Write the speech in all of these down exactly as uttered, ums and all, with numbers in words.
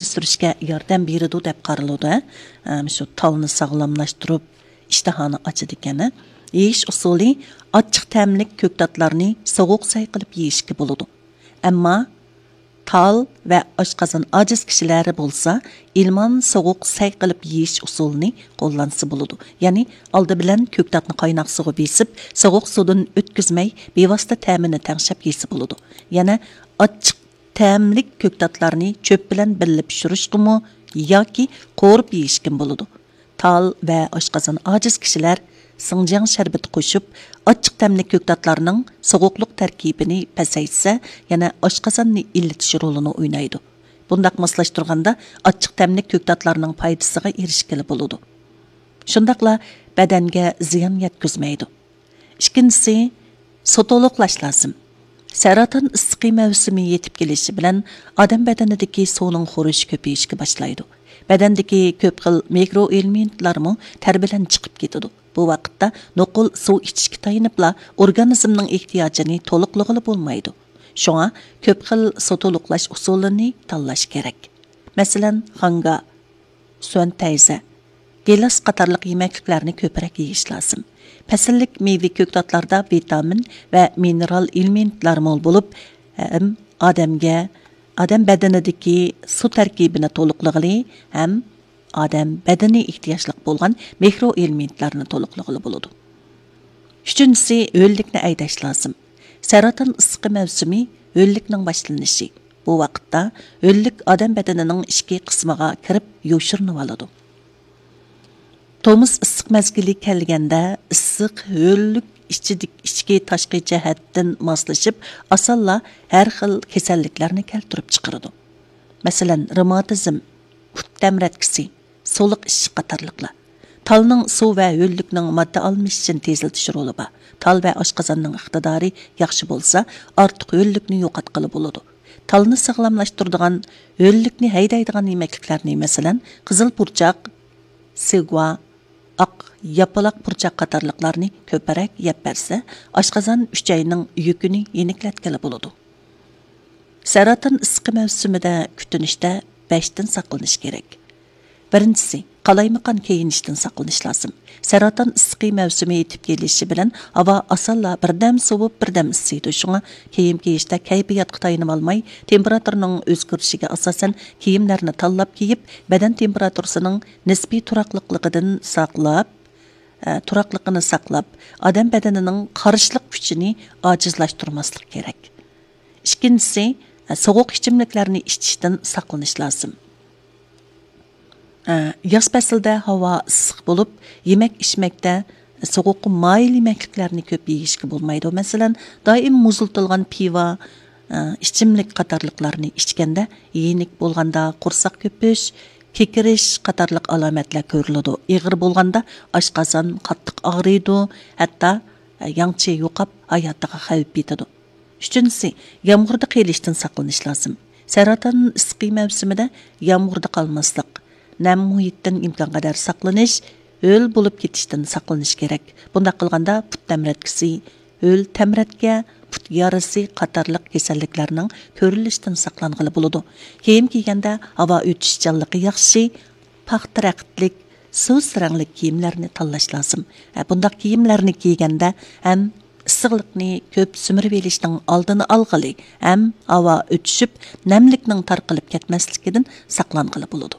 ئۆستۈرۈشكە ياردەم بېرىدۇ دەپ قارىلىدۇ. ھە، شۇ تالنى ساغلاملاشتۇرۇپ، ئىشتىھانى ئاچىدىكەن. يېيىش ئۇسۇلى: ئاچچىق تەملىك كۆكتاتلارنى سوغۇق سەي قىلىپ يېيىشكە بولىدۇ. ئەمما تال ۋە ئاشقازان ئاجىز كىشىلەر بولسا، ئىلمان سوغۇق سەي قىلىپ يېيىش ئۇسۇلىنى قوللانسا بولىدۇ. يەنى ئالدى بىلەن كۆكتاتنى قايناق سۇغا بېسىپ، سوغۇق سۇدىن ئۆتكۈزمەي، بىۋاسىتە تەمىنى تەڭشەپ يېسە بولىدۇ. يەنە ئاچچىق تەملىك كۆكتاتلارنى چۆپ بىلەن بىللە پىشۇرۇشقىمۇ ياكى قورۇپ يېيىشكىمۇ بولىدۇ. تال ۋە ئاشقازان ئاجىز كىشىلەر سىڭجياڭ شەربىتى قوشۇپ، ئاچچىق تەملىك كۆكتاتلارنىڭ سوغۇقلۇق تەركىبىنى پەسەيتسە، يەنە ئاشقازاننى ئىللىتىش رولىنى ئوينايدۇ. بۇنداق ماسلاشتۇرغاندا ئاچچىق تەملىك كۆكتاتلارنىڭ پايدىسىغا ئېرىشكىلى بولىدۇ. شۇنداقلا بەدەنگە زىيان يەتكۈزمەيدۇ. ئىككىنچىسى، سۇ تولۇقلاش لازىم. سەرطان ئىسسىقى مەۋسۇمى يېتىپ كېلىشى بىلەن ئادەم بەدىنىدىكى سۇنىڭ خورىشى كۆپىيىشكە باشلايدۇ. بەدەندىكى كۆپ خىل مىكرو ئېلېمېنتلارمۇ تەر بىلەن چىقىپ كېتىدۇ. بۇ ۋاقىتتا نوقۇل سۇ ئىچىشكە تايىنىپلا ئورگانىزمنىڭ ئېھتىياجىنى تولۇقلىغىلى بولمايدۇ. شۇڭا كۆپ خىل سۇ تولۇقلاش ئۇسۇلىنى تاللاش كېرەك. مەسىلەن، خاڭگا، سۈەن تەيزە، گىلاس قاتارلىق يېمەكلىكلەرنى كۆپرەك يېيىش لازىم. پەسىللىك مېۋە كۆكتاتلاردا ۋىتامىن ۋە مىنېرال ئېلېمېنتلار مول بولۇپ، ھەم ئادەمگە، ئادەم بەدىنىدىكى سۇ تەركىبىنى تولۇقلىغىلى ھەم ئادەم بەدىنى ئېھتىياجلىق بولغان مىكرو ئېلېمېنتلارنى تولۇقلىغىلى بولىدۇ. ئۈچىنچىسى، ھۆللۈكنى ھەيدەش لازىم. سەرطان ئىسسىقى مەۋسۇمى ھۆللۈكنىڭ باشلىنىشى. بۇ ۋاقىتتا ھۆللۈك ئادەم بەدىنىنىڭ ئىچكى قىسمىغا كىرىپ يوشۇرۇنۇۋالىدۇ. تومۇز ئىسسىق مەزگىلى كەلگەندە، ئىسسىق ھۆللۈك ئىچىدىك-، ئىچكى تاشقى جەھەتتىن ماسلىشىپ، ئاسانلا ھەر خىل كېسەللىكلەرنى كەلتۈرۈپ چىقىرىدۇ. مەسىلەن، رېماتىزم، پۇت تەمرەتكىسى، سۇلۇق ئىششىق قاتارلىقلار. تالنىڭ سۇ ۋە ھۆللۈكنىڭ ماددا ئالمىشىشىنى تېزلىتىش رولى بار. تال ۋە ئاشقازاننىڭ ئىقتىدارى ياخشى بولسا، ئارتۇق ھۆللۈكنى يوقاتقىلى بولىدۇ. تالنى ساغلاملاشتۇرىدىغان، ھۆللۈكنى ھەيدەيدىغان يېمەكلىكلەرنى، مەسىلەن، قىزىل پۇرچاق، سىگۇا، ئاق ياپىلاق پۇرچاق قاتارلىقلارنى كۆپرەك يەپ بەرسە، ئاشقازان ئۈچەينىڭ يۈكىنى يېنىكلەتكىلى بولىدۇ. سەرطان ئىسسىقى مەۋسۇمىدە كۈتۈنۈشتە بەشتىن ساقلىنىش كېرەك. بىرىنچىسى، قالايمىقان كىيىنىشتىن ساقلىنىش لازىم. سەرطان ئىسسىقى مەۋسۇمى يېتىپ كېلىشى بىلەن ھاۋا ئاسانلا بىردەم سوۋۇپ، بىردەم ئىسسىيدۇ. شۇڭا كىيىم كىيىشتە كەيپىياتقا تايىنىۋالماي، تېمپېراتۇرىنىڭ ئۆزگىرىشىگە ئاساسەن كىيىملەرنى تاللاپ كىيىپ، بەدەن تېمپېراتۇرىسىنىڭ نىسپىي تۇراقلىقلىقىدىن ساقلاپ، ئە، تۇراقلىقىنى ساقلاپ، ئادەم بەدىنىنىڭ قارشىلىق كۈچىنى ئاجىزلاشتۇرماسلىق كېرەك. ئىككىنچىسى، سوغۇق ئىچىملىكلەرنى ئىچىشتىن ساقلىنىش لازىم. ياز پەسلىدە ھاۋا ئىسسىق بولۇپ، يېمەك ئىچمەكتە سوغۇققا مايىل يېمەكلىكلەرنى كۆپ يېيىشكە بولمايدۇ. مەسىلەن، دائىم مۇزلىتىلغان پىۋا، ئىچىملىك قاتارلىقلارنى ئىچكەندە يېنىك بولغاندا قورساق كۆپۈش، كېكىرىش قاتارلىق ئالامەتلەر كۆرۈلىدۇ. ئېغىر بولغاندا ئاشقازان قاتتىق ئاغرىيدۇ، ھەتتا ياڭچى يوقاپ، ھاياتىغا خەۋپ يېتىدۇ. ئۈچىنچىسى، يامغۇردا قېلىشتىن ساقلىنىش لازىم. سەرطان ئىسسىقى مەۋسۇمىدە يامغۇردا قالماسلىق، نەم مۇھىتتىن ئىمكانقەدەر ساقلىنىش، ھۆل بولۇپ كېتىشتىن ساقلىنىش كېرەك. بۇنداق قىلغاندا پۇت تەمرەتكىسى، ھۆل تەمرەتكە، پۇت يارىسى قاتارلىق كېسەللىكلەرنىڭ كۆرۈلۈشىدىن ساقلانغىلى بولىدۇ. كىيىم كىيگەندە ھاۋا ئۆتۈشچانلىقى ياخشى، پاختا رەختلىك، سۇس رەڭلىك كىيىملەرنى تاللاش لازىم. ھە، بۇنداق كىيىملەرنى كىيگەندە ھەم ئىسسىقلىقنى كۆپ سۈمۈرۈۋېلىشنىڭ ئالدىنى ئالغىلى، ھەم ھاۋا ئۆتۈشۈپ، نەملىكنىڭ تارقىلىپ كەتمەسلىكىدىن ساقلانغىلى بولىدۇ.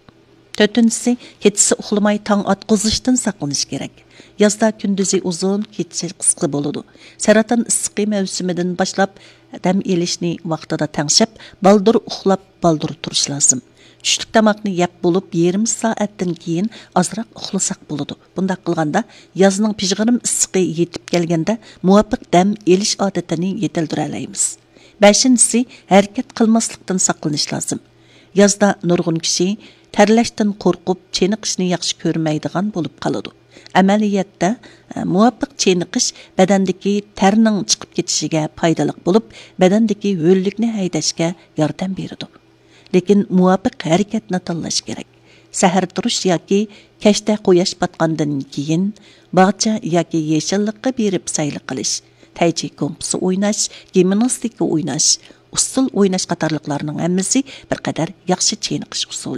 تۆتىنچىسى، كېچىسى ئۇخلىماي تاڭ ئاتقۇزۇشتىن ساقلىنىش كېرەك. يازدا كۈندۈزى ئۇزۇن، كېچىسى قىسقا بولىدۇ. سەرطان ئىسسىقى مەۋسۇمىدىن باشلاپ دەم ئېلىشنى ۋاقتىدا تەڭشەپ، بالدۇر ئۇخلاپ، بالدۇر تۇرۇش لازىم. چۈشلۈك تاماقنى يەپ بولۇپ، يېرىم سائەتتىن كېيىن ئازراق ئۇخلىساق بولىدۇ. بۇنداق قىلغاندا، يازنىڭ پىژغىرىم ئىسسىقى يېتىپ كەلگەندە، مۇۋاپىق دەم ئېلىش ئادىتىنى يېتىلدۈرەلەيمىز. بەشىنچىسى، ھەرىكەت قىلماسلىقتىن ساقلىنىش لازىم. يازدا نۇرغۇن كىشى تەرلەشتىن قورقۇپ، چېنىقىشنى ياخشى كۆرمەيدىغان بولۇپ قالىدۇ. ئەمەلىيەتتە، مۇۋاپىق چېنىقىش بەدەندىكى تەرنىڭ چىقىپ كېتىشىگە پايدىلىق بولۇپ، بەدەندىكى ھۆللۈكنى ھەيدەشكە ياردەم بېرىدۇ. لېكىن مۇۋاپىق ھەرىكەتنى تاللاش كېرەك. سەھەر تۇرۇش ياكى كەچتە قۇياش پاتقاندىن كېيىن باغچە ياكى يېشىللىققا بېرىپ سەيلە قىلىش، تەيچى گوڭپىسى ئويناش، گىمناستىكا ئويناش، ئۇسسۇل ئويناش قاتارلىقلارنىڭ ھەممىسى بىر قەدەر ياخشى چېنىقىش ئۇسۇلى.